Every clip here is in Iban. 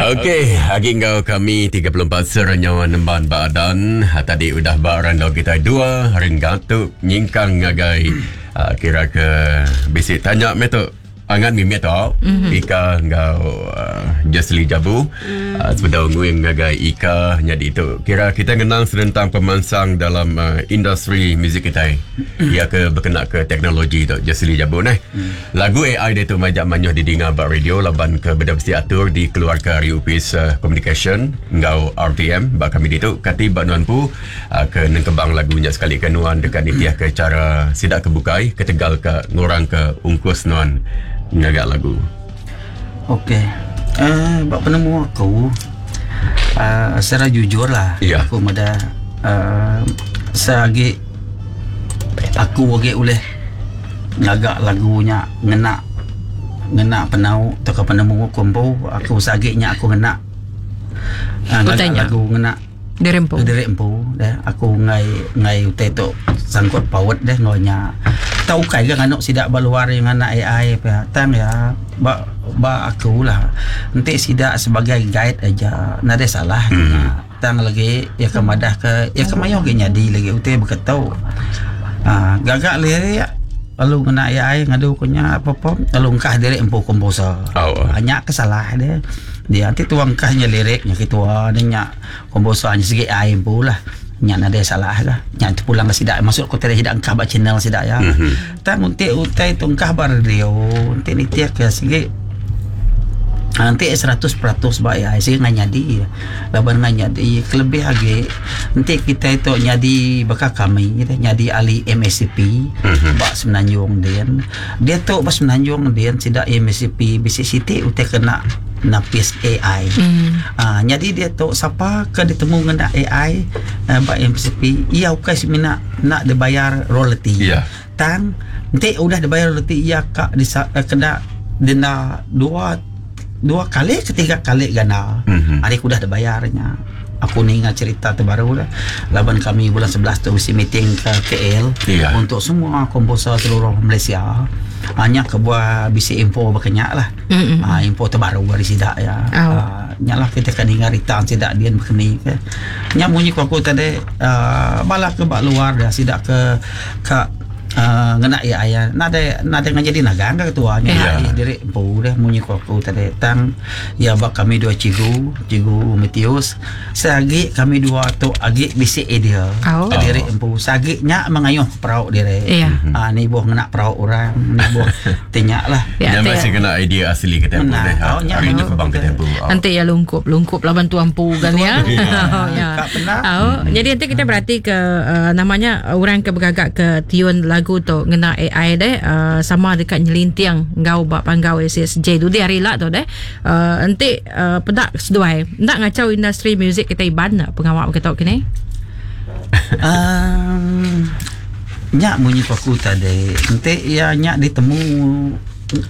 Okey, agi enggau kami 34 serenyawa nemban ba adan. Ha, tadi udah ba randau kitai dua renggat tu nyingkang ngagai uh, kira ke bisi tanya meh tu. Angat mimit tu mm-hmm. Ika enggau uh, Jesly Jabu mm. uh, sebedau nguing ngagai Ika nyadi tu. Kira kita ngenang senentang pemansang dalam uh, industri muzik kitai. Iya ke bekena ke teknologi tu Jesly Jabu neh. Mm. Lagu AI diatu majak mayuh didinga ba radio laban ke beda bisi atur dikeluarka ari Opis Komunikasyen enggau RTM ba kami ditu. Kati ba nuan empu ke nengkebang lagu nya sekalika nuan deka nitihka chara sida ke bukai ketegal ka ngurangka ungkus nuan ngaga lagu? Okey uhh ba penemu aku uhh secara jujur lah aku meda uhh seagi aku agi ulih ngaga lagu nya ngena ngena penau tauka penemu aku empu aku seagi nya aku ngena uhh ngaga lagu ngena Diri empu. Diri empu deh aku enggai enggai utai tu sangkut paut deh enggau nya. Tau ukai ga nganu sida ba luar iya ngena AI pia tang iya ba ba aku lah enti sida sebagai guide aja nadai salah nya. Tang lagi iya ke madah ke iya ke mayuh agi nyadi lagi utai baka tu. Aaa gaga lirik lalu ngena AI ngadu ku nya perform lalu engkah diri empu komposer. Nya ke salah deh. Dia ti tuang engkah nya lirik nya ketua ne nya. Komposer nya sigi ai empu lah. Nya nadai salah lah. Nya terpulang ke sida maksud ku tadi sida engkah ba channel sida ya. Mm-hmm. Tang enti utai tu engkah ba radio, enti nitih ke sigi enti 100% ba ai sigi ngai nyadi. Laban ngai nyadi kelebih agi enti kitai tu nyadi baka kami nyadi ahli MACP mm-hmm. ba Semenanjung din. Diatu ba Semenanjung din sida MACP bisi siti utai kena napis AI. Aaa nyadi diatu sapa ke ditemu ngena AI ba MCP iya ukai semina enda dibayar royalty tang enti udah dibayar royalty iya ka disa kena denda dua dua kali ke tiga kali ganda ari ke udah dibayar nya. Aku ninga cerita tu baru lah laban kami bulan 11 tu bisi meeting ke KL yeah. untuk semua komposer seluruh Malaysia. Ha, nya kebuah bisi info baka nya lah. Mm-hmm. Ha, info terbaru dari sida ya. Oh. Ha, nya lah kita akan ninga rita sida dia baka ni ke. Nya munyi ku aku tadi uh, bala ke ba luar dia sida ke ke ngena iya aya nadai nadai ngan jadi nagang ka ketua nya yeah. diri empu deh munyi ku aku tadi tang iya ba kami dua cikgu cikgu Matthews seagi kami dua tu agi bisi idea oh. diri empu seagi nya mengayuh perau diri yeah. uh, nibuh ngena perau orang nibuh ti nya lah ya, masih kena idea asli kita empu deh oh, nya hari itu kebang kita empu oh. Nanti ya lungkup lungkup laban tuan empu kan ya. Oh, ya. Oh, jadi nanti kita berarti ke uh, namanya orang ke bergagak ke tiun lagu tu ngena AI deh uh, sama dekat nyelinting enggau ba panggau SSJ dudi hari lah tu deh. Uh, enti uh, peda seduai ndak ngacau industri muzik kita Iban pengawa begitu kini. Um, nya munyi ku aku tadi enti iya nya ditemu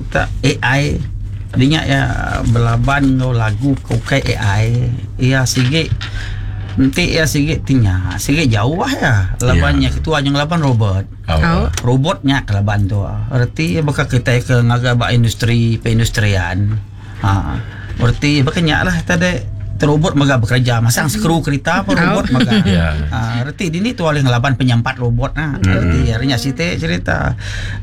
tak AI dinya iya belaban enggau lagu ke ukai AI iya sigi enti iya sigi ti nya sigi jauh iya laban nya ketua nya ngelaban robot. Robot nya ke laban tu reti iya baka kitai ke ngaga ba industri perindustrian. Ha reti baka nya lah tadi robot mega bekereja masang skru kerita pun robot mega. Ha reti dini tu alih ngelaban penyampat robot nah. Reti ari nya siti cerita.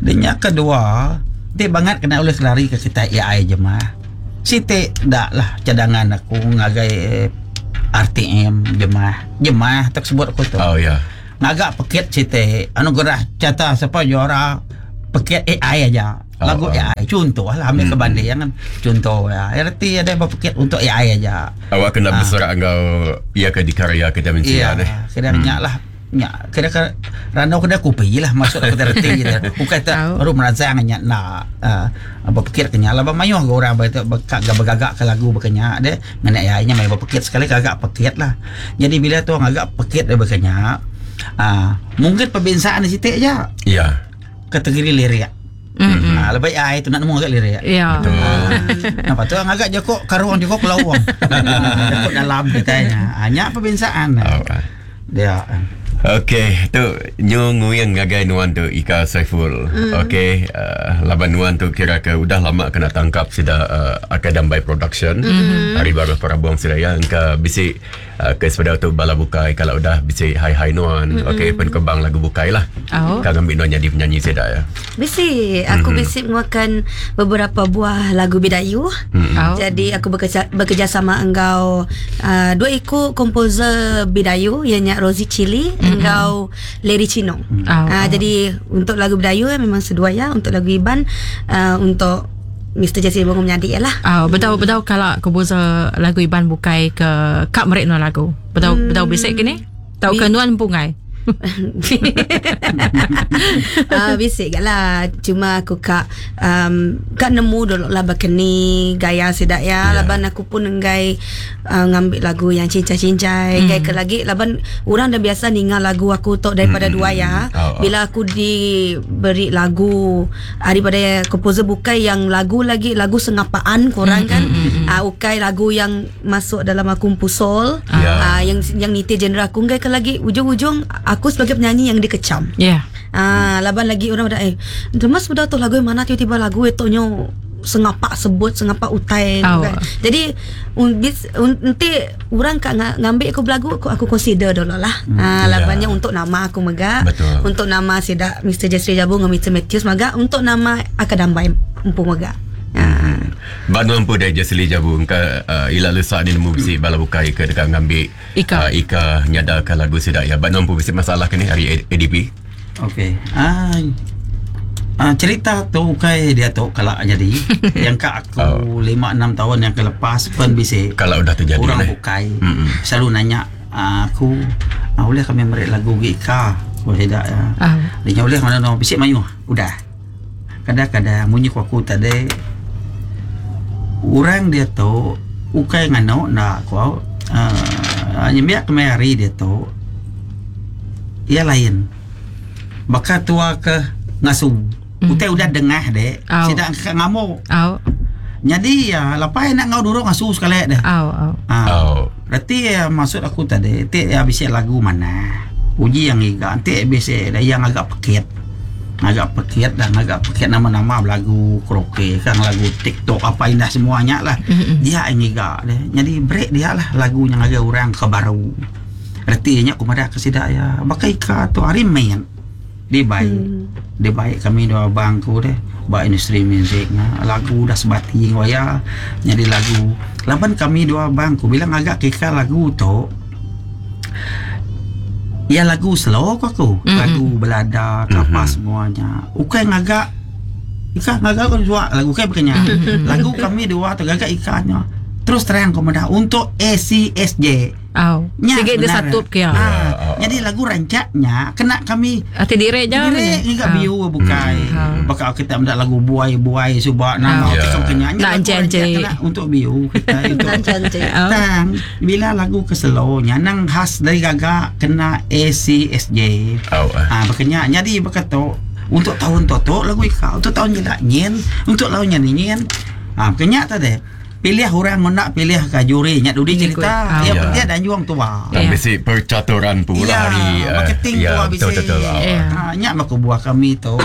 Nya kedua ti bangat kena ulih kelari ke kitai AI jemah. Siti da lah cadangan aku ngagai RTM jemah. Jemah tok sebut aku tu. Oh ya. Ngaga pekit siti anugerah cata sapa juara pekit AI aja. Lagu oh, AI contoh lah ambil ke banding kan contoh ya reti ada berpikir untuk AI aja awak kena ha. berserak enggau ia ke dikarya kita mensia iya, deh kena hmm. lah nya kira ke randau kena kopi lah maksud aku reti je bukan tak baru merangsang nya nak uh, berpikir ke nya lah mayuh ke orang berkak bergagak ke lagu berkenya deh ngena AI nya mai berpikir sekali gagak pekit lah jadi bila tu agak pekit dia berkenya uh, mungkin perbezaan di situ aja ya kategori lirik. Mm-hmm. Ha, lebih ai tu nak nemu agak lirik. Ya. Betul. Ha, nampak tu agak joko karuang joko kelawang. Joko dalam kita nya. Ha, nya perbezaan. Oh. Dia. Okey, tu nyu nguing ngagai nuan tu Ika Saiful. Mm. Okey, uh, laban nuan tu kira ke udah lama kena tangkap sida uh, Akai Dambai Production. Mm. Hari baru perabung sida ya engka bisi uh, ke sebedau tu bala bukai kalau udah bisi hai-hai nuan. Mm. Okey, penkembang lagu bukai lah. Oh. Ka ngambi nuan jadi penyanyi sida ya. Bisi, aku mm-hmm. bisi mengeluarkan beberapa buah lagu Bidayu. Mm-hmm. Oh. Jadi aku bekerja bekerjasama enggau uh, dua iku komposer Bidayu ianya Rosie Chili mm-hmm. enggau Larry Chinong. Mm. Oh. Uh, jadi untuk lagu Bidayu eh, memang sedua ya, untuk lagu Iban uh, untuk Mr. Jesse Bongo menyadi ya lah. Oh, betul betul kalau komposer lagu Iban bukai ke kak merik nuan lagu. Betul mm. betul bisik kini? Tau ke nuan pungai. Ah, bisik gak lah. Cuma aku kak um, kak nemu dulu lah bakeni gaya sidak ya. Yeah. Laban aku pun enggai uh, ngambil lagu yang cincai-cincai. Enggai ke lagi laban orang dah biasa ninga lagu aku tok daripada dua ya. Oh, oh. Bila aku diberi lagu daripada komposer bukai yang lagu lagi lagu sengapaan korang kan. Uh, ukai lagu yang masuk dalam aku pusol. Ya. Uh, yang yang niti genre aku enggai ke lagi ujung-ujung aku sebagai penyanyi yang dikecam. Ya. Yeah. Ah, laban lagi orang dah eh Mas sudah tu lagu yang mana tiba-tiba lagu itu nyo sengapak sebut sengapak utai Oh. kan. Jadi un, bis, un, nanti orang kak ngambil aku belagu aku, aku consider dulu lah. Ah, Ya. labannya untuk nama aku mega, Betul. untuk nama sidak Mr. Jeffrey Jabu dengan Mr. Matthews mega, untuk nama Akadambai empu mega. Ah. Ba nuan pun dah Jesli Jabu engka uh, ila lesak ni nemu bisi bala bukai ke dekat ngambil Ika. Uh, Ika nyadakan lagu sidak ya. Ba nuan pun bisi masalah ke ni hari ADP. Okey. Ah, ah cerita tu kai dia tu kalau jadi yang kak aku Oh. 5 6 tahun yang kelepas pun bisi Kalau udah terjadi orang ni. bukai Mm-mm. selalu nanya ah, aku ah, boleh kami merik lagu gi Ika aku tidak ya. Ah. Dia boleh mana no bisik mayu udah. Kadang-kadang munyi ku aku tadi orang dia tu ukai ngano nak aku uh, nyembiak kemari dia tu ia lain. Baka tua ke ngasu. Utai udah dengah dek. Au. Sidak ke ngamuk. Au. Jadi ya lepai nak ngau durung ngasu sekali deh. Au au. Ah. Oh. Berarti ya, maksud aku tadi, ti ya bisa lagu mana? Uji yang iga, nanti bisa ada yang agak pekit. Agak pekit dan agak pekit nama-nama lagu karaoke kan lagu TikTok apa indah semuanya lah. Dia yang iga deh. Jadi break dia lah lagu yang agak orang ke baru. Artinya aku madah ke sidak ya. Bakai ka tu hari main. Dia baik. Dia baik kami dua abangku deh. Ba industri muzik nga. Lagu dah sebati ngoya jadi lagu. Laban kami dua abangku bilang agak kika lagu tu Ya lagu slow ko aku. Mm-mm. Lagu belada apa Mhm. semuanya. Ukai ngagak Ika ngagak ko dua lagu kai bukannya. Lagu kami dua tu gagak ikannya. Terus terang komentar untuk ACSJ. Au. Nya, Sige dia benar. satu ke ya. Ah, jadi lagu rancaknya kena kami Ati dire je. Dire enggak biu bukai. Hmm. Bakal kita mendak lagu buai-buai subak nama Ya. kita kena Nak encik-encik. kena untuk biu kita untuk Encik-encik. Au. Tang bila lagu keselonya nang khas dari gagak kena ACSJ. Oh. Ah berkenya jadi berkata untuk tahun toto lagu ika untuk tahun jelak nyen untuk tahun nyen nyen. Ah berkenya tadi pilih orang nak pilih ke juri nyak dudi Mengikut. cerita Ah. ya Ya. dia dan juang tua. Dan Ya. bisi percaturan pula Ya, hari eh, marketing ya, tu habis betul betul. Oh. Ya. Ha, nyak aku buah kami tu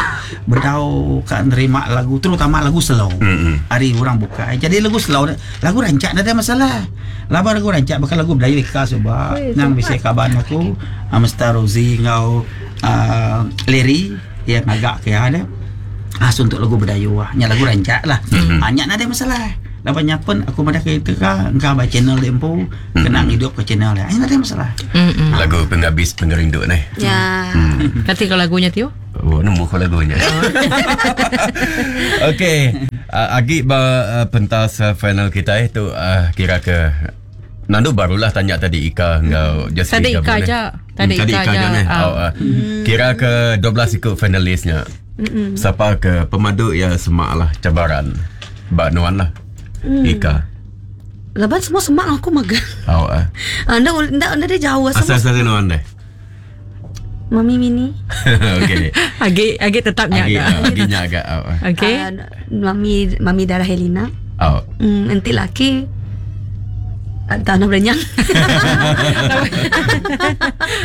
berdau kat nerima lagu terutama lagu slow. Mm-mm. Hari orang buka. Jadi lagu slow lagu rancak tak ada masalah. Laba lagu rancak bakal lagu Melayu ika sebab nang bisa kaban aku ah, Mr. Rosie ngau uh, Larry yang agak ke ada. Ah so untuk lagu Berdayuh ah. Nyak lagu rancak lah. Mhm. Ah nyak nak ada masalah. Labannya pun aku madah kereta ka engkau ba channel dia empu kena hidup ke channel dia. Ah, nak ada masalah. Mm-mm. Lagu penghabis pengerindu ni. Ya. Kati kalau lagunya Tio? Oh, nemu kau lagunya. Okey, agi ba pentas final kita itu kira ke Nandu barulah tanya tadi Ika enggau Jesse Tadi Ika aja. Tadi Tadi Ika Ika aja aja. ni. Ah. Oh, kira ke 12 ikut finalisnya. Siapa ke pemadu ya semak lah cabaran. Ba nuan lah. Ika. Laban semua semak aku magang. Oh, uh. Anda anda anda dia jauh Asal semua. asal nuan deh. Mami Mini. Okey. Agi agi tetap nyak Agi agak. agi nya agak. Oh. Okey. Ah, Mami Mami Darah Helena. Oh. Nanti laki. Tanah berenyang.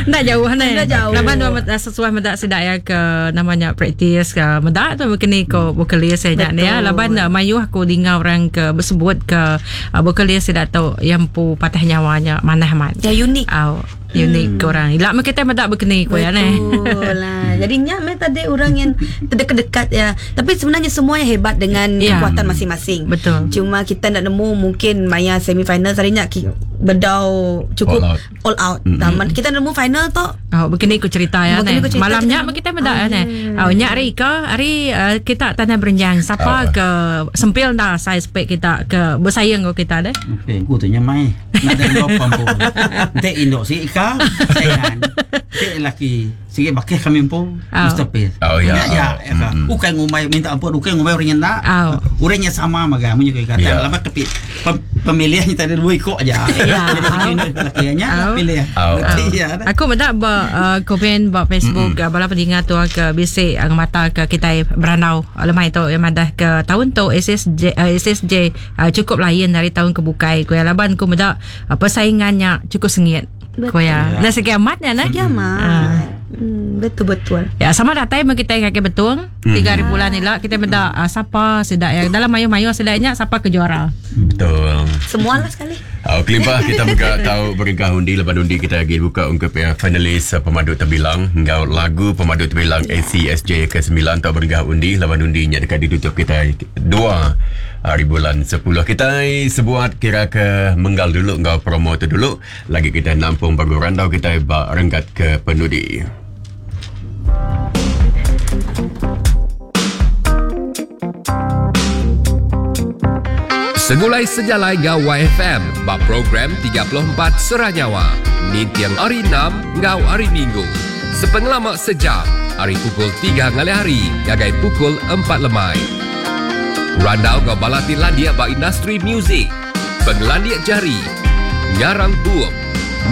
Enda jauh ne. Enda jauh. Laban dua meda sesuai meda sida ya ke namanya praktis ke meda tu bekeni ko vokalis ya nya ni ya. Laban uh, mayuh aku dinga orang ke bersebut ke uh, vokalis sida tu yang empu patah nyawa nya manah amat. Ya unik. Au unik hmm. orang. Ila meh kita meda bekeni ko ya ne. Betul lah. Jadi nya meh tadi orang yang terdekat-dekat ya. Tapi sebenarnya semuanya hebat dengan Ya. kekuatan masing-masing. Betul. Cuma kita nak nemu mungkin maya semi final tadi nya bedau cukup All out. All out. Mm-hmm. Kita nemu final tu Oh, begini ku cerita ya Begini ne. ku cerita, Malam nya kita kita meda ya ne. Oh, nya hari ke hari uh, kita tanah berenjang. Siapa ke sempil dah size spek kita ke bersaing ke kita deh. Okey, ku tu nyamai. Nak ada dua pampu. Nanti induk si Ika, saingan. Nanti laki sige bakih kami empu, Oh. Mr. P. Oh, ya. Ya, ya, Oh. ya. Ka. Ukai ngumai minta ampun, ukai ngumai orang yang nak. Oh. Orangnya sama maga munyi kata. Ya. Lama kepi pemilihannya tadi dua ikut aja. Ya. Jadi si induk laki nya Oh. pilih. Oh. Nanti ya. dah. Aku meda ba uh, komen ba Facebook mm-hmm. bala pendengar tu ke bisi uh, mata ke kita beranau lemai tu yang madah ke tahun tu SSJ uh, SSJ uh, cukup lain dari tahun ke bukai ku ya laban ku meda uh, persaingannya cukup sengit. Ku ya. Ya. Nah segi amatnya nah. Ya mah. Betul betul. Ya sama datai meh kita ngake betung tiga hari bulan ni lah kita meda uh, siapa sedak yang dalam mayu-mayu sedaknya siapa ke juara. Betul. Semualah sekali. Oh, kelimpah kita buka tahu beringkah undi lepas undi kita lagi buka untuk pihak finalis pemadu terbilang ngau lagu pemadu terbilang ACSJ ke-9 tahu beringkah undi lepas undinya dekat ditutup kita 2 hari bulan 10 kita sebuat kira ke menggal dulu ngau promo tu dulu lagi kita nampung bagu randau kita ba renggat ke penudi. Segulai sejalai ngau YFM bab program 34 Seranyawa. Nintiang hari 6 ngau hari Minggu. Sepengelama sejam, hari pukul 3 ngalih hari, gagai pukul 4 lemai. Randau ngau balati landia ba industri muzik. Pengelandia jari, ngarang bup,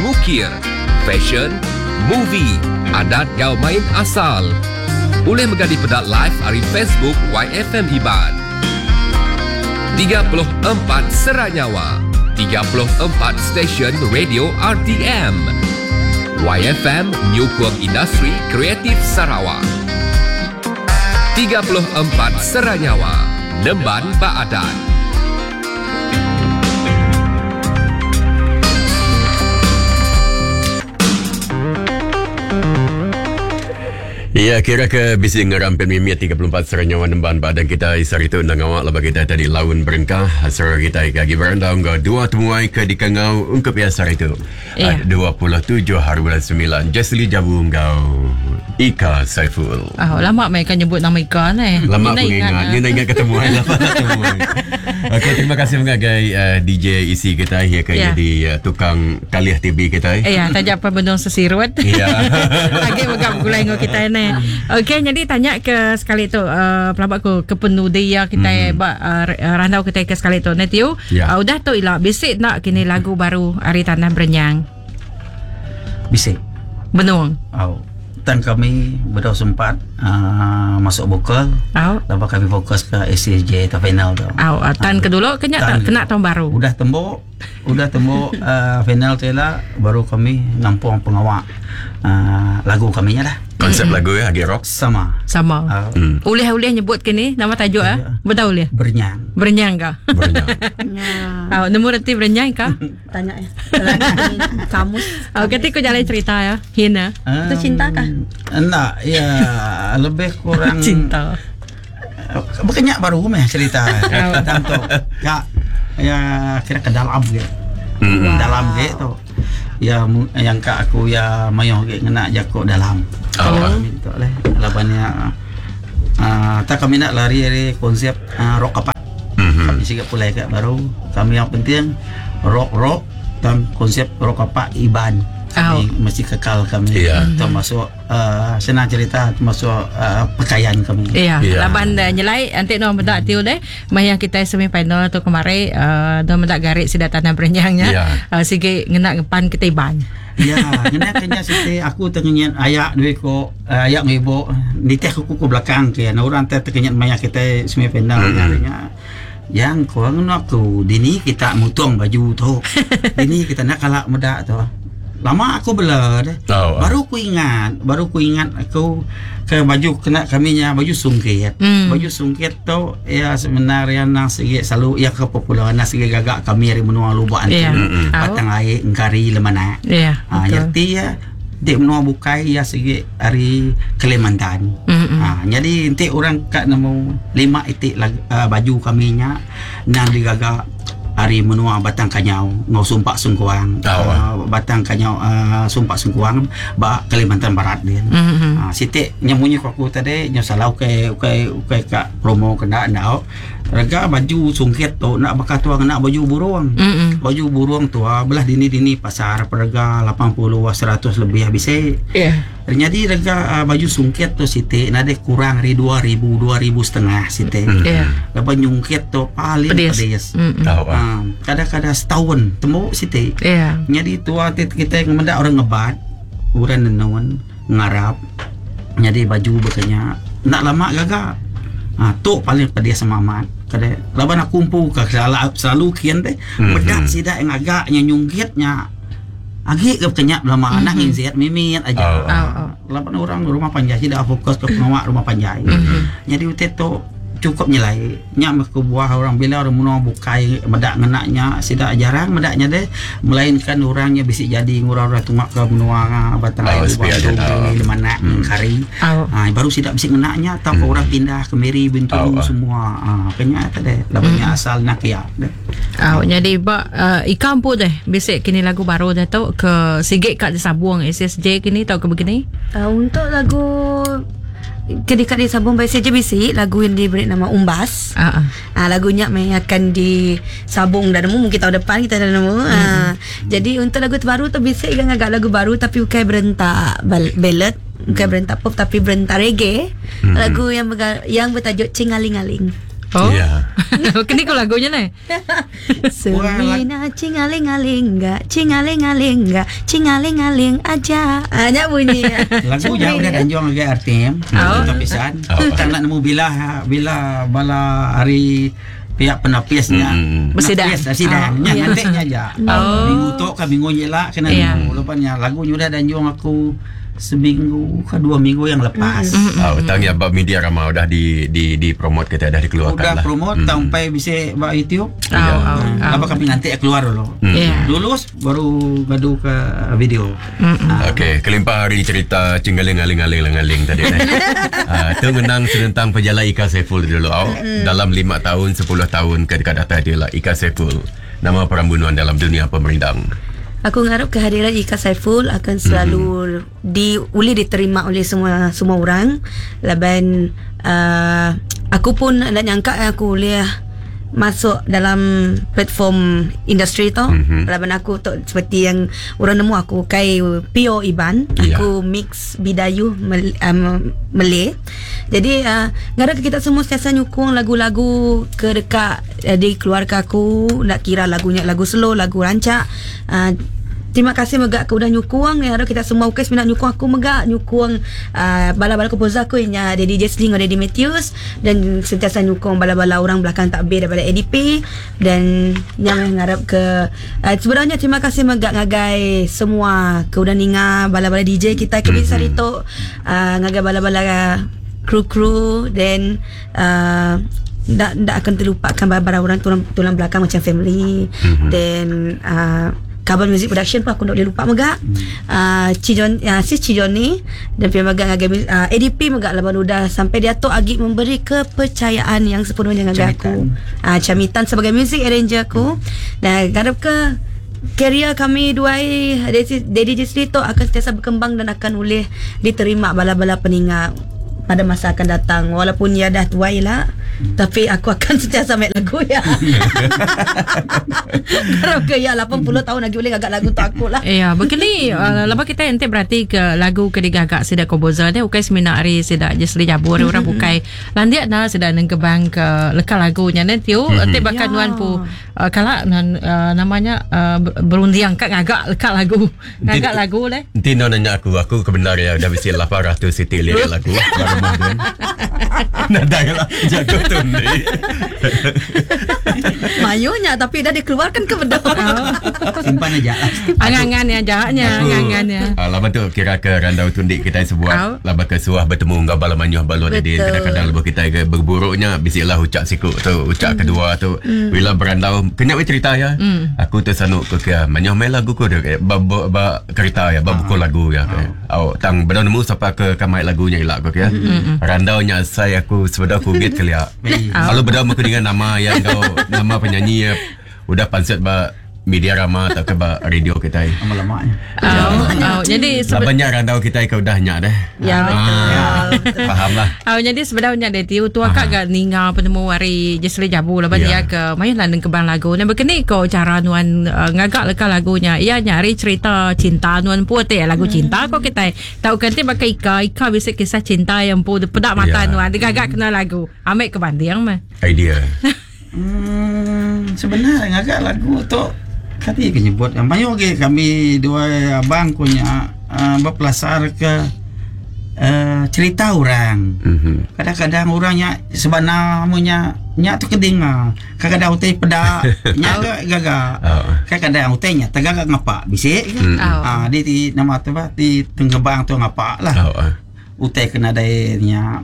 ngukir, fashion, movie, adat ngau main asal. Boleh mengganti pedak live hari Facebook YFM Iban. 34 Seranyawa 34 Stesen Radio RTM YFM Nyukung Industri Kreatif Sarawak 34 Seranyawa Nemban Baadat Ya, kira ke bisi ngerampin mimit 34 seranyawa nemban badan kita isar itu nang awak lepas kita tadi laun berengkah serang kita lagi berandau ngau dua temuai ke dikangau ungkup biasa itu. Ya. 27 hari bulan 9 Jesli Jabu ngau Ika Saiful. Ah, lama mereka nyebut nama Ika ni. Lama Kena aku ingat. ah. Ni nak ingat ketemu lama tak ketemu. Okey, terima kasih mengagai DJ isi kita ya ke Ya. jadi tukang kalih TV kita. Eh, ya, tajak apa bendung sesirut. Ya. Lagi buka gulai dengan kita ni. Okey, jadi tanya ke sekali tu uh, pelabak ku ke penudi ya kita mm-hmm. ba, uh, randau kita ke sekali tu. Netiu, Ya. udah tu ila bisik nak kini lagu baru Hari Tanah Berenyang. Bisik. Benung. Au. Tan kami berdua sempat masuk vokal. Au. Lepas kami fokus ke ACJ atau final tu. Au, uh, tan ke dulu kena Tan. kena tahun baru. Udah tembok, udah tembok final tu lah baru kami ngampung pengawak lagu kami nya lah. Konsep lagu ya Agi Rock. Sama. Sama. Uh, Ulih-ulih nyebut kini nama tajuk ah. Ya. Betul ulih. Bernyang. Berenyang ke? Berenyang. Ya. Au, nemu reti berenyang ke? Tanya ya. Dalam kamus. Au, ketika kau jalan cerita ya. Hina. Itu cinta kah? Enggak, ya lebih kurang Cinta. Bukannya baru meh cerita tentang tu. Ya, ya kira ke dalam gitu. Mm-mm. Dalam gitu. Ya yang kak aku ya mayoh ge ngena jakok dalam. Oh. Kami tu leh labannya tak kami nak lari dari konsep rock apa. Mhm. Kami sikap pulai kat baru. Kami yang penting rock rock dan konsep rock apa Iban. Kami mesti kekal kami. Ya. Termasuk senang cerita termasuk pakaian kami. Ya, Ya. laban dah nyelai nanti no medak tiu deh. Maya kita semi final tu kemari no medak garik sida tanah berenyangnya. Ya. Sige ngena ngepan kita iban. Ya, kena kena siti aku tengenyen ayak duit ko ayak ngibo niteh aku ke belakang ke. Nah orang teh tengenyen maya kita semi final mm-hmm. Yang ko ngena aku dini kita mutung baju tu. Dini kita enda kala meda tu. Lama aku bela deh. Oh, Baru ku ingat, baru ku ingat aku ke baju kena kami nya baju sungkit. Baju sungkit tu iya sebenarnya nang sigi selalu iya ke popular nang sigi gaga kami ari menua Lubok Antu, Yeah. Batang Ai, Engkari, Lemanak. Yeah, Ha, betul. reti iya di menua bukai iya sigi ari Kalimantan. Ha, jadi enti orang ka nemu lima iti lag, uh, baju kami nya nang digaga ari menua Batang Kanyau ngau Sumpak Sengkuang. Oh. Batang Kanyau Sumpak Sengkuang ba Kalimantan Barat din. Siti nya munyi ku aku tadi nya salah ukai ukai ukai ka promo kena enda. Rega baju sungkit tu enda baka tua ngena baju burung. Baju burung tua belah dini-dini pasar perega 80 100 lebih bisi. Yeah. Nyadi rega baju sungkit tu siti nadai kurang ari 2000 2000 setengah siti. Yeah. Laban nyungkit tu paling Pedis. pedis. Tau ah. Ha, kadang-kadang setahun temu siti. Yeah. Nyadi tua ti kita meda orang ngebat, orang nenun, ngarap. Nyadi baju bekenya enda lama gaga. Ha, tu paling pedis sama amat. Kadai laban aku empu ke selalu, selalu kian deh. Meda sida yang agak nya nyungkit nya agi ke bekenya belama anak nginsit mimit aja. Oh, oh. Oh. Laban orang rumah panjai sida fokus ke pengawa rumah panjai. Jadi utai tu cukup nyelai. Nya meh kebuah orang bila orang menua bukai meda ngena nya sida jarang meda nya deh melainkan orang nya bisi jadi ngurang orang tunga ke menua Batang Oh, Ai sepi Lubang aja Tu, tau. Miri, Lemanak, Engkari. Oh. Ha, baru sida bisi ngena nya atau ke orang pindah ke Miri Bintulu Oh, ah. semua. Ha, kenya tadi laban nya asal nak ya deh. Oh, jadi ba Ika empu deh bisik kini lagu baru dah tu ke sigit kat disabung SSJ kini tau ke begini. Untuk lagu Ketika disambung by SJBC, lagu yang diberi nama Umbas. Ah. ah. Ah, lagunya memang akan disabung dah nemu mungkin tahun depan kita dah nemu. Ah, jadi untuk lagu terbaru tu bisa kan agak lagu baru tapi bukan berentak ballad, bukan berentak pop tapi berentak reggae. Lagu yang yang bertajuk Cingaling-aling. Oh. Ya. Kini ko lagunya ni. Semina cingaling-aling enggak, cingaling-aling enggak, cingaling-aling aja. Ah, nya bunyi. Lagu jauh dah danjong lagi RTM. Oh. Kita pisan. Oh. Kita nak nemu bila bila bala hari pihak penapisnya. Bersidang. Penapis, sidang. Oh. Nya Ya. nanti nya aja. Oh. Minggu tu ke minggu nyela kena Ya. nemu. Lepasnya lagu nya udah danjong aku seminggu ke dua minggu yang lepas. Oh, tang ya bab media ramah udah di di di promote kita dah dikeluarkan Udah lah. promote sampai bisa buat YouTube. Oh, oh, oh. Lama kami nanti keluar dulu. Ya. Lulus baru gadu ke video. Okey, kelimpah hari cerita cinggaling-aling-aling-aling tadi eh. Ah, tu menang senentang pejalan Ika Saiful dulu. Oh. Dalam 5 tahun, 10 tahun ke dekat data dia lah Ika Saiful. Nama perambunuan dalam dunia pemerindang. Aku ngarap kehadiran Ika Saiful akan selalu di boleh diterima oleh semua semua orang. Laban aku pun nak nyangka aku boleh masuk dalam platform industri tu. Laban aku tu seperti yang orang nemu aku kai Pio Iban, Ya. aku mix Bidayu Malay. Jadi ngarap kita semua sentiasa nyukung lagu-lagu ke dekat di keluarga aku, nak kira lagunya lagu slow, lagu rancak. Terima kasih megak ke udah nyukung ya harap kita semua okey sebenarnya nyukung aku megak nyukung bala-bala komposer aku nya Daddy Jesling Daddy Matthews dan sentiasa nyukung bala-bala orang belakang takbir daripada ADP dan yang mengharap ke sebenarnya terima kasih megak ngagai semua ke udah ninga bala-bala DJ kita ke bisa mm-hmm. tu ngagai bala-bala kru-kru dan tak akan terlupakan bala-bala orang tulang belakang macam family mm-hmm. dan Kaban Music Production pun aku tak boleh lupa megak. Cijon si Cijon ni dan pihak megak ngagai ADP megak laban udah sampai dia tu agi memberi kepercayaan yang sepenuhnya ngagai aku. Camitan sebagai music arranger aku. Dan harap ke kerjaya kami duai Daddy Jesli tu akan sentiasa berkembang dan akan boleh diterima bala-bala peningat pada masa akan datang. Walaupun ia dah tuai lah, tapi aku akan sentiasa make lagu ya. Harap ke ya 80 tahun lagi boleh gagak lagu tu aku lah. Ya, begini lepas kita nanti berarti ke lagu ke digagak sidak komposer dia bukan semina hari sidak Jesli Jabur orang bukai. Landiak na sidak nengkebang ke leka lagunya nanti tiu nanti bahkan Ya. nuan pu kalak nan, namanya berundiang kat ngagak leka lagu. Ngagak lagu leh. Nanti no nanya aku, aku kebenar ya dah mesti 800 siti lirik lagu. Baru rumah tu. Nadai lah jago. Tundi. Mayuh nya tapi dah dikeluarkan ke bedau. Simpan aja lah. Angan-angan ya aja nya, angan-angan ya. Ah, laban tu kira ke randau tundi kitai sebuat laban ke suah betemu enggau bala mayuh ba luar didin kadang-kadang lebuh kitai ke begeburu nya bisi lah ucak siku tu ucak kedua tu bila berandau kena meh cerita iya aku tu sanu ke ke mayuh meh lagu ku ba ba, ba kereta iya ba buku lagu iya ke au tang bedau nemu sapa ke ka mai lagu nya ila ku ke randau nya asai aku sebedau covid kelia lalu bedau meh ku ninga nama iya enggau nama penyanyi iya udah pansut ba media rama tauka ba radio kitai. Lama-lama nya. Oh, oh, jadi sebe- Laban nya randau kitai ke udah nya deh. Ya, betul. Ah, faham lah. Oh, jadi sebedau nya deh tiu tua kak gak ninga penemu ari Jesly Jabu laban Ya. dia ke mayuh lah nengkebang lagu. Nah bekeni ko cara nuan uh, ngaga leka lagunya. Iya nya ari cerita cinta nuan empu ti lagu cinta ko kitai. Tau kan ti baka Ika, Ika bisi kisah cinta yang empu peda mata Ya. nuan digaga kena lagu. Ambil ke banding meh. Idea. Sebenarnya ngaga lagu tu kati ke nyebut yang mayuh agi kami dua abang ku nya uh, bepelasar ke uh, cerita orang. Kadang-kadang orang nya sebana mu nya nya tu kedinga. Kadang-kadang utai peda nya ga gaga. Oh. Kadang-kadang utai nya tegaga ngapa bisi ke. Oh. Ah di, di nama tu bah di tenggebang tu ngapa lah. Oh. ah. Utai ke nadai nya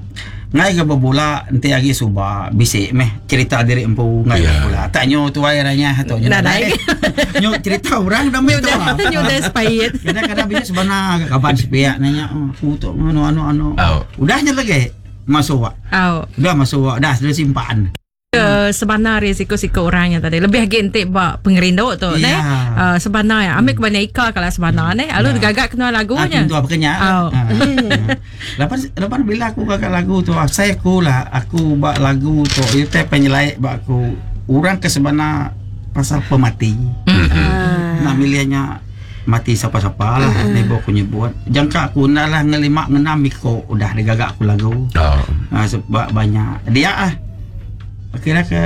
ngai ke bebula enti agi suba bisi meh cerita diri empu ngai Ya. bebula. Tak nyo tuai ranya tu nyo Nadai. nadai. Nyo cerita orang dah meh tu. ah. Nyo dah expired. Kadang-kadang bisa sebenar kaban sepiak nanya oh, aku tu anu anu anu. Oh. Udah nya lagi masuk wak. Oh. Udah masuk wak dah sudah simpan. Ke sebana ari siku-siku orang yang tadi lebih agi enti ba pengerindu tu Ya. neh uh, sebana ya ambil kebanyak Ika kalau sebana neh lalu Ya. gagak kena lagunya Ah, tu apa kenya. Oh. Ah. Lepas lepas bila aku gagak lagu tu, saya aku lah aku buat lagu tu itu teh penyelai bak aku orang ke sebana pasal pemati. Ah. Nak milihnya mati siapa-siapa lah uh-huh. Nebo aku nyebut Jangka aku nak lah ngelima ngenam iko Udah digagak aku lagu Oh. ha, Sebab banyak Dia ah Kira ke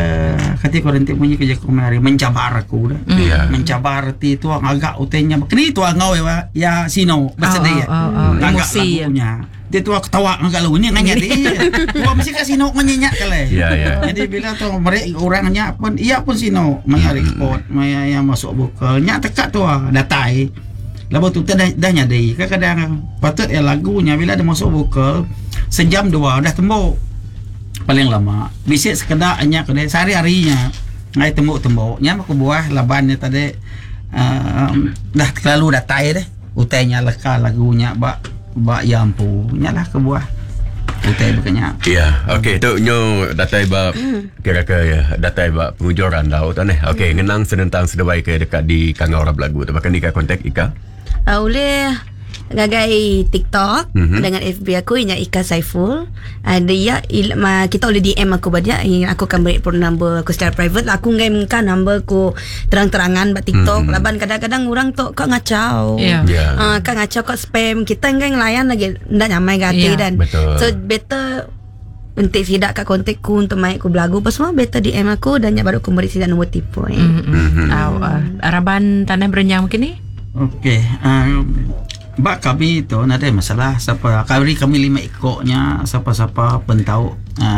Kati kau rentik bunyi kerja aku hari Mencabar aku dah Ya. Mencabar ti tu agak utenya Kini tu ngau ya ya sino bersedih Oh, oh, oh, oh. Agak Emosi, ya. lagunya Dia tu ketawa ngagak lagunya nganya dia Tua mesti kat sino ngenyenyak kali Ya, ya. Jadi bila tu mereka orangnya pun ia pun sino maya record maya yang masuk vokal nya tekak tu ah datai. Lepas tu dah dah nyadi. Kadang-kadang patut ya lagunya bila ada masuk vokal sejam dua dah tembok. Paling lama. Bisik sekedar nya kedai sehari-harinya. Ngai tembok-tembok nya aku buah labannya tadi um, dah terlalu datai deh. Utainya leka lagunya bak bak ya ampu. Nya lah kebuah. Utai bukannya. Ya, okey tu nyo datai ba kira ke ya, datai ba penghujung randau tu neh. Okey, ngenang senentang seduai ke dekat di Kangau Orang Belagu tu. Bahkan ni ka kontak Ika. Oleh ngagai TikTok Mhm. dengan FB aku inya Ika Saiful. Dia il, ma, kita boleh DM aku banyak. Aku akan beri phone number aku secara private lah. Aku ngai mengkan number aku terang-terangan bak TikTok. Mhm. Laban kadang-kadang orang tu kau ngacau. Ya. Ya. Kau ngacau kau spam. Kita ngai ngelayan lagi ndak nyamai gati Ya. dan. Betul. So better Untuk sidak kat kontak ku untuk mai ku belagu apa semua better DM aku dan nyak baru ku beri sidak nombor telefon. Mm-hmm. Oh, Araban tanah berenyang mungkin ni Okey, bak kami tu nada masalah siapa kami kami lima ikoknya siapa-siapa pun tahu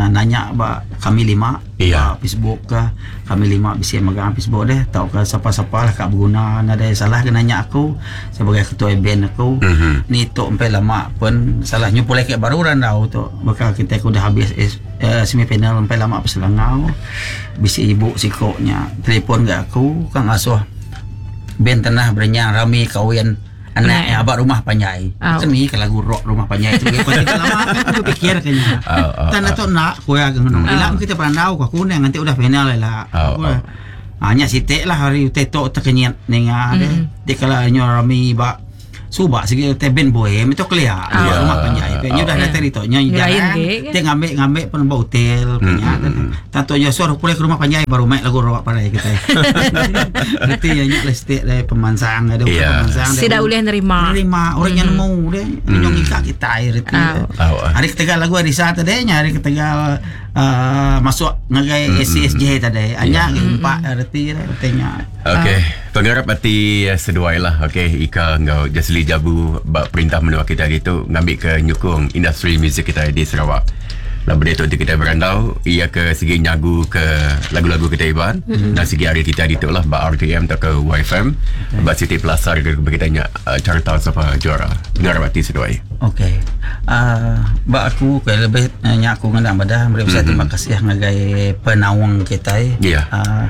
nanya bak kami lima Iya. bak Facebook ke kami lima bisa megang Facebook deh tahu ke siapa-siapa lah kak berguna nada salah ke nanya aku sebagai ketua band aku Mhm. ni tu sampai lama pun salahnya pulai ke baru randau tu bakal kita aku dah habis semifinal sampai lama peselangau bisa ibu sikoknya telefon ke aku kang asuh band tanah berenyang rami kawin anak yang abak rumah panjai. Au. Kan ni kalau lagu rock rumah panjai tu kau tidak lama kan aku fikir kayaknya. Au, au, Tanah tu nak kau ya ngono. Ila kita perandau kau aku nanti udah final lah. Au, Aku au. hanya sitik lah hari tetok terkenyit ninga deh. Dia kalau nyo rami bak subak segi te band bohem itu kelia Ya. rumah panjai. Nya dah Ya. datang itu nya Lain jarang. ge, Dia ngambil ngambil pun bawa hotel punya. Tantu nya suruh pulai ke rumah panjai baru main lagu rock parai kita. Nanti ya nya lestik dari pemansang ada Ya. pemansang. Tidak boleh nerima. Nerima orang yang nemu deh. Nyong ikak kita air itu. Au. Au, ah. Hari ketiga lagu Arisa tadi nya hari ketiga uh, masuk ngagai SCSJ tadi. Hanya empat erti artinya. Okey, pengarap hati seduai lah. Okey, Ika ngau Jasli Jabu bak perintah menua kita hari tu ngambil ke nyukung industri muzik kita di Sarawak. Laban diatu ti kitai berandau iya ke sigi nyagu ke lagu-lagu kitai Iban mm-hmm. dan sigi ari kitai ditu lah ba RTM tauka YFM okay. ba siti pelasar ke kitai nya uh, carta sapa juara. Pengarap ati seduai. Okey. Uh, ba aku ke lebih uh, nya aku ngena madah meri besai mm-hmm. terima kasih ngagai penaung kitai. Yeah. Uh,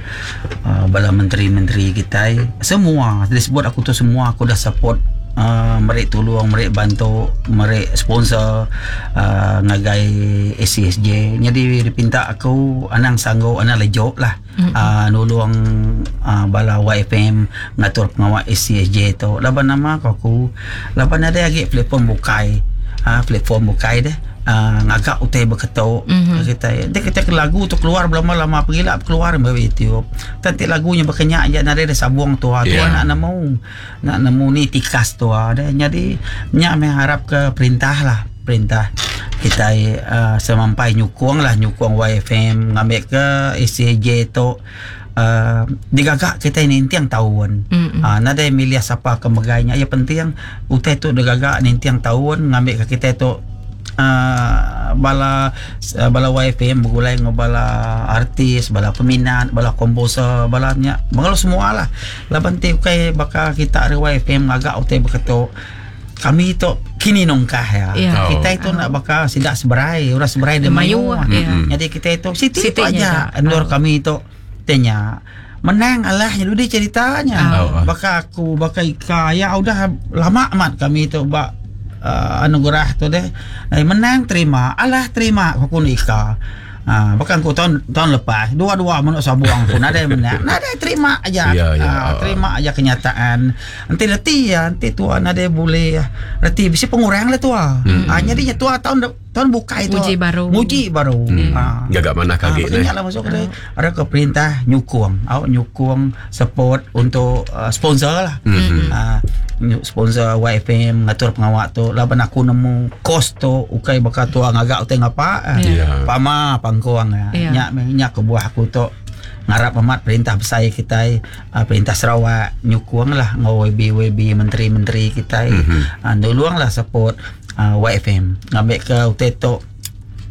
uh, bala menteri-menteri kitai semua disebut aku tu semua aku dah support uh, meri tulung, meri bantu, meri sponsor uh, ngagai ACSJ. Jadi dipinta aku anang sanggup, anang lejok lah. Mm-hmm. Uh, nulung uh, bala YFM ngatur pengawa ACSJ tu. Laban nama ko aku, laban ada lagi platform bukai. Uh, platform bukai deh. Uh, ngagak utai berketuk mm-hmm. kita dia kita ke lagu tu keluar berlama-lama pergilah keluar dari YouTube nanti lagunya berkenyak je nadai ada sabung tua tua yeah. nak nemu Nak nemu ni tikas tua deh. Nyadi nya meh arap ke perintah lah. Perintah kitai uh, semampai nyukung lah nyukung YFM ngambil ke ACJ tu uh, digaga kitai ninting taun. Mm-hmm. Uh, nadai milih siapa ke megai nya. Yang penting utai tu digaga ninting taun ngambil ke kitai tu uh, bala uh, bala YFM begulai dengan bala artis, bala peminat, bala komposer, bala nya, bala semua lah. Laban ti ukai baka kita ari YFM ngaga utai baka tu. Kami tu kini nongkah ya. Yeah. Oh. Kita itu nak baka sida seberai, orang seberai dia Mayuh, mayuh. yeah. Jadi kita itu siti, Siti tu aja. nya. Endur Oh. kami itu tanya menang alah nya dudi ceritanya. Oh. Baka aku, baka Ika, ya udah lama amat kami itu bak uh, anugerah tu deh. Eh, menang terima, alah terima aku ni Ika. Ah, bahkan aku tahun tahun lepas dua-dua manuk sabuang pun ada yang menang. Ada terima aja. Ya, ya. Ah, terima aja kenyataan. Nanti reti ya, nanti tua nada boleh ya. Reti bisa pengurang lah tua. Hmm. Ah, jadi nya tua tahun tahun buka itu. Nguji baru. Nguji baru. Hmm. Ah. Gagak mana Ah, kaget makanya lah masuk ke ada ke perintah nyukung, awak nyukung support untuk uh, sponsor lah. Mhm. Ah, sponsor YFM ngatur pengawak tu laban aku nemu kos tu ukai bakal tua ngagak utai ngapa. ah. Ya. Pama pangkuang ya. Ya. Nyak nyak kebuah aku tu ngarap amat perintah besar kita uh, perintah Sarawak nyukung lah ngau YB YB menteri-menteri kita Mhm. mm-hmm. uh, nulung lah support uh, YFM ngambil ke utai tu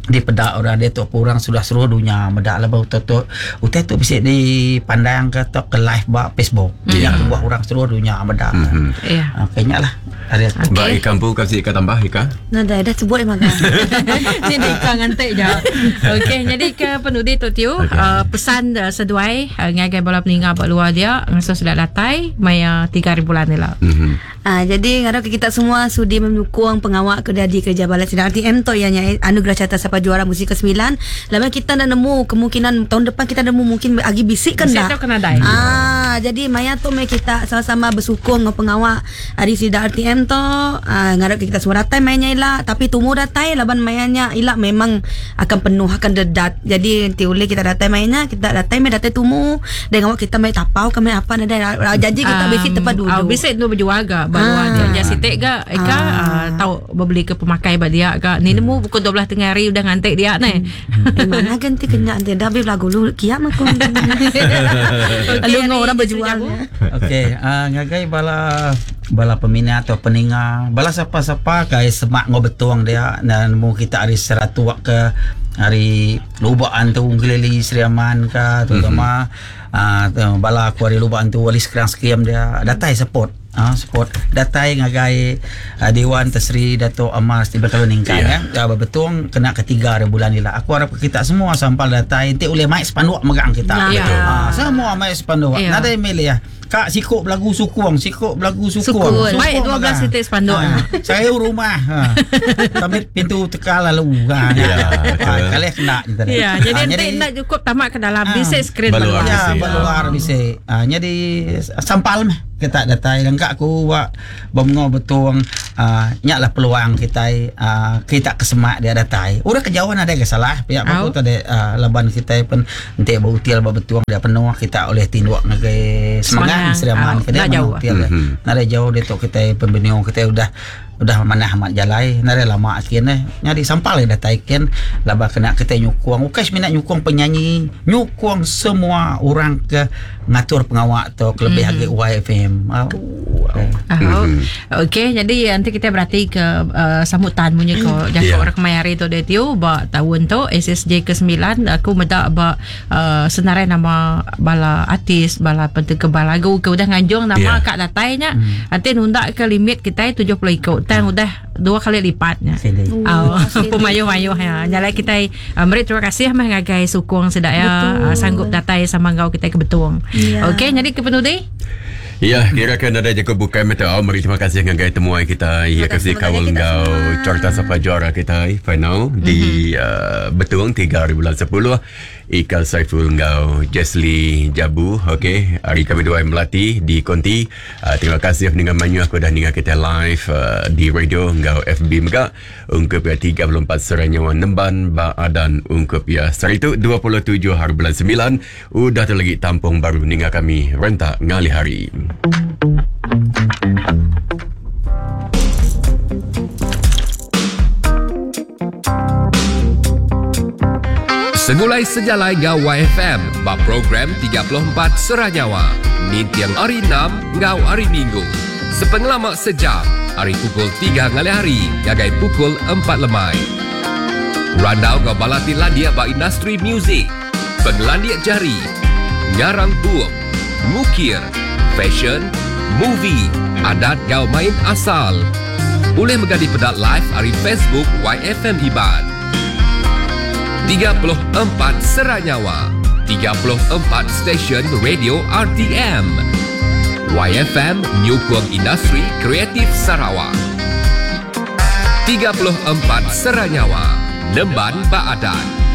di pedak orang dia tu orang sudah seluruh dunia medak lah bau tu tu utai tu bisa dipandang ke atau ke live ba Facebook Ya. yang buah orang seluruh dunia medak Mhm. Ya. mm-hmm. uh, kayaknya lah ada Okey. Ba Ika empu kasi Ika tambah Ika. Nah, dah, dah sebut memang. Ni dah ikan ngantik je. Okey, jadi ke penudi tu Tiu, Okey. okay. uh, pesan uh, seduai uh, ngagai bala peninga buat luar dia ngasuh sudah datai maya 3 hari bulan ni lah. Mhm. Ah, jadi ngarap kita semua sudi mendukung pengawak ke di kerja balas sidang RTM tu ianya anugerah carta sapa juara musik ke-9. Lama kita dah nemu kemungkinan tahun depan kita nemu mungkin agi bisik kan Bisik dah. tu kena dai. Ah, jadi maya tu mai kita sama-sama bersukung dengan pengawak hari sidang RTM tu. Ah, ngarap kita semua datai mainnya ila tapi tumu datai laban mainnya ila memang akan penuh akan dedat. Jadi nanti boleh kita datai mainnya, kita datai mai datai tumu dengan awak kita mai tapau kami apa nada janji kita bisik tempat duduk. Ah, bisik tu berjual ga baru Ah. dia nya sitik ga Eka ah. tahu berbeli ke pemakai ba dia ga. Ni nemu pukul 12 tengah hari udah ngantik dia ni. Eh, mana ganti kenyak nanti dah habis lagu lu kiam aku. Lalu hari orang ni berjual. Jabu. Okey, uh, ngagai bala bala peminat atau peninga, bala siapa-siapa kai semak ngo betuang dia dan nemu kita hari Seratua ke hari Lubaan tu Ngelili Sri Aman ke terutama mm-hmm. uh, bala aku hari Lubaan tu wali sekarang sekiam dia datai support. Ah support datai ngagai uh, Dewan Tesri Dato' Amar Stephen Kalun Ningkan Ya. yeah. ya. Betung kena ketiga hari bulan ni lah. Aku harap kita semua sampal datai nanti boleh maik sepanduk megang kita. Ya. Betul. Ah, semua maik sepanduk. Ya. Nadai milih ya. Kak sikuk belagu sukuang, sikuk belagu sukuang. Sukun. Baik 12 titik spanduk. Ha, saya rumah. Ha. Sampai pintu teka lalu. Ha. Ya, Ha, betul. kali kena je tadi. Ya, jadi Ha, nanti nak cukup tamat ke dalam Ah. bisik skrin Baluar baluar. Ya, bisik. baluar bisik. Ha, jadi sampal meh kita datai lengkap aku buat bomengo betung uh, nyaklah peluang kita uh, kita kesemak dia datai. Orang kejauhan ada ke salah pihak Au. aku tadi uh, laban kita pun nanti bautil ba betuang dia penuh kita oleh tinduk ngagai Semangang. semangat Seriaman Au, ke dia nak jauh. mana hotel dia. Mhm. Nada jauh dia tu kita pembeniung kita udah udah mana amat jalai nada lama akin eh nyari sampal dah taikin laba kena kita nyukung ukai minat nyukung penyanyi nyukung semua orang ke ngatur pengawak tu kelebih mm-hmm. lagi YFM. Oh. Okey, jadi nanti kita berarti ke sambutan munyi ko jaku yeah. orang kemai hari tu dia tiu ba tahun tu SSJ ke-9 aku meda ba senarai nama bala artis, bala pentekebal lagu ke udah nganjung nama yeah. kak datai nya. Nanti nunda ke limit kita 70 iku tang udah dua kali lipat nya. Oh, pemayuh-mayuh ya. Nyalai kita meri terima kasih meh ngagai sukung sida ya sanggup datai sama enggau kita ke Betong. Yeah. Okey, jadi ke penudi. Ya, kira ke nadai jaku bukai meh tu. Au, meri terima kasih ngagai temuai kita. Ya, kasih kaul enggau carta sapa juara kita final mm-hmm. di Betong 3 hari bulan 10. Ika Saiful enggau Jesly Jabu. Okey, hari kami dua melati di Konti. Terima kasih dengan mayuh aku dah ninga kita live di radio enggau FB mega. Ungkup ya 34 serai nyawa nemban ba adan ungkup ya. Sehari tu 27 hari bulan 9 udah tu lagi tampung baru ninga kami rentak ngalih hari. Segulai sejalai ngau YFM ba program 34 Sera Nyawa. Ninting hari 6 ngau hari Minggu. Sepengelama sejam, hari pukul 3 ngalih hari ngagai pukul 4 lemai. Randau ngau bala ti landik ba industri muzik, pengelandik jari, ngarang bup, ngukir, fashion, movie, adat ngau main asal. Boleh mega dipeda live ari Facebook YFM Iban. 34 Sera Nyawa, 34 stesen radio RTM. YFM nyukung industri kreatif Sarawak. 34 Sera Nyawa, Nemban Baadan.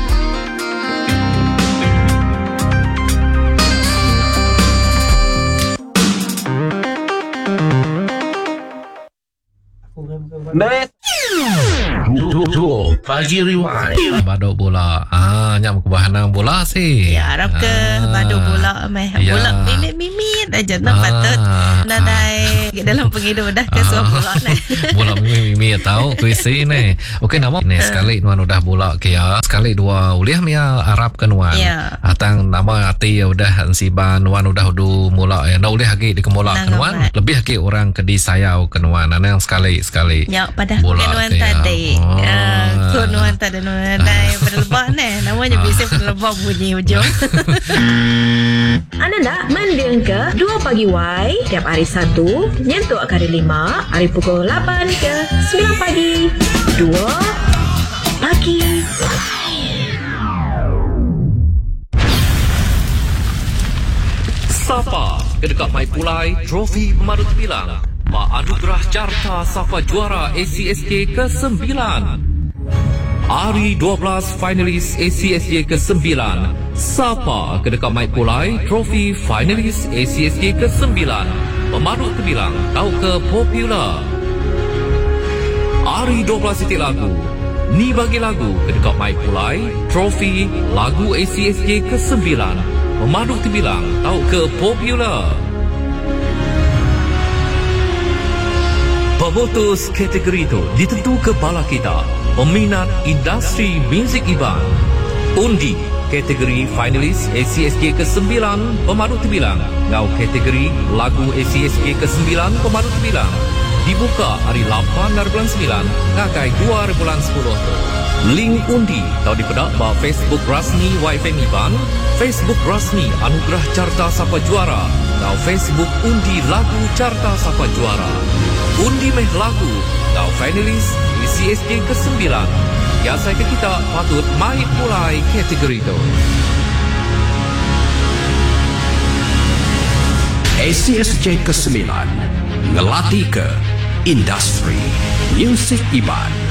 Pagi Rewind. Baduk bola. Ah, nya ke bahanang bola sih. Ya, harap ke baduk bola meh. Ya. Bola mimit-mimit aja nak patut nadai dalam penghidup dah ke suap bola ni. Bola mimit-mimit tahu kuisi ni. Okey nama ni sekali nuan udah bola ke ya. Sekali dua ulih mia harap ke nuan. Ya. Atang nama hati ya udah ensiban nuan udah udu mula ya. Ndak ulih lagi dikemula ke nuan. Lebih lagi orang ke disayau ke nuan. Anang sekali-sekali. Ya, pada Bola nuan ke ya. tadi. Oh. Ku nuan tadi nuan dai berlebah ni. Namanya bisa berlebah bunyi ujung. Anda nak mending ke 2 pagi Y tiap hari 1 nyentuk ke hari 5 hari pukul 8 ke 9 pagi. 2 pagi. Sapa ke dekat Mai Pulai trofi Pemadut Bilang Pak Anugerah Carta Sapa Juara ACSJ ke-9. Hari 12 finalis ACSJ ke-9. Sapa ke dekat Mai Pulai trofi finalis ACSJ ke-9. Pemadut Terbilang tau ke popular. Hari 12 titik lagu. Ni bagi lagu ke dekat Mai Pulai trofi lagu ACSJ ke-9. Pemadut Terbilang tau ke popular. Pemutus kategori itu ditentu ke bala kita, peminat industri muzik Iban. Undi kategori finalis ACSJ ke-9 Pemadut Terbilang ngau kategori lagu ACSJ ke-9 Pemadut Terbilang dibuka hari 8 hari bulan 9 ngagai 2 hari bulan 10 tu. Link undi tau dipedak ba Facebook rasmi YFM Iban, Facebook rasmi Anugerah Carta Sapa Juara, ngau Facebook undi lagu Carta Sapa Juara. Undi meh lagu ngau finalis ACSJ ke-9. Ya saya ke kita patut mai mulai kategori tu. ACSJ ke-9 ngelatih ke industri muzik Iban.